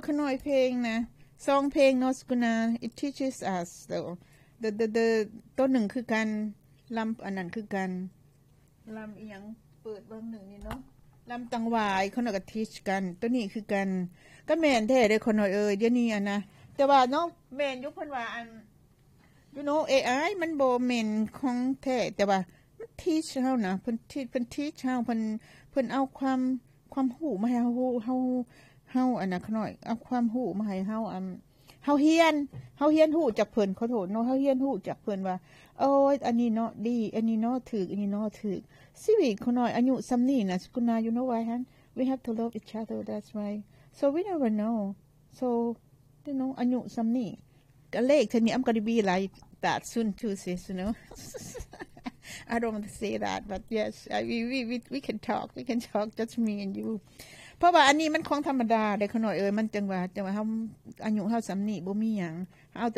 ຂະນ້ອຍເພງນະ ສອງເພງເນາະ ສະກຸນາ it teaches us though the the the ໂຕໜຶ່ງຄືກັນ ລຳອັນນັ້ນຄືກັນ ລຳອີ່ຫຍັງ ເປີດເບິ່ງໜຶ່ງນີ້ເນາະ ລຳຕັງຫວາຍ ຂະນ້ອຍກໍ teach ກັນ ໂຕນີ້ຄືກັນ ກໍແມ່ນແທ້ເດ້ຂະນ້ອຍເອີຍ ດຽວນີ້ອັນນະ ແຕ່ວ່າເນາະ ແມ່ນຢູ່ ເພິ່ນວ່າອັນ you know ເອໄອມັນບໍ່ແມ່ນຂອງແທ້ ແຕ່ວ່າມັນ teach ເຮົານະ ເພິ່ນ teach ເພິ່ນ teach ເຮົາ ເພິ່ນ ເພິ່ນເອົາຄວາມ ຄວາມຮູ້ມາໃຫ້ເຮົາຮູ້ ເຮົາ ເຮົາອັນນະ ຂະນ້ອຍ ເອົາຄວາມຮູ້ມາໃຫ້ເຮົາ ອັນ ເຮົາຮຽນ ເຮົາຮຽນຮູ້ຈາກເພິ່ນ ຂໍໂທດເນາະ ເຮົາຮຽນຮູ້ຈາກເພິ່ນວ່າ ໂອ້ຍ ອັນນີ້ເນາະດີ ອັນນີ້ເນາະຖືກ ອັນນີ້ເນາະຖືກ ຊີວິດຂະນ້ອຍອາຍຸສ່ຳນີ້ນະ ສະກຸນາ you know why hon we have to love each other that's why so we never know so you know ອາຍຸສ່ຳນີ້ ກະເລກເທື່ອນີ້ I'm gonna be like that soon too sis you know I don't want to say that but yes I, we, we, we, we can talk we can talk just me and you ເພາະວ່າອັນນີ້ມັນຂອງທຳມະດາເດ້ຂະນ້ອຍເອີຍ ມັນຈັ່ງວ່າ ຈັ່ງວ່າເຮົາ ອາຍຸເຮົາສ່ຳນີ້ ບໍ່ມີຫຍັງ ເຮົາ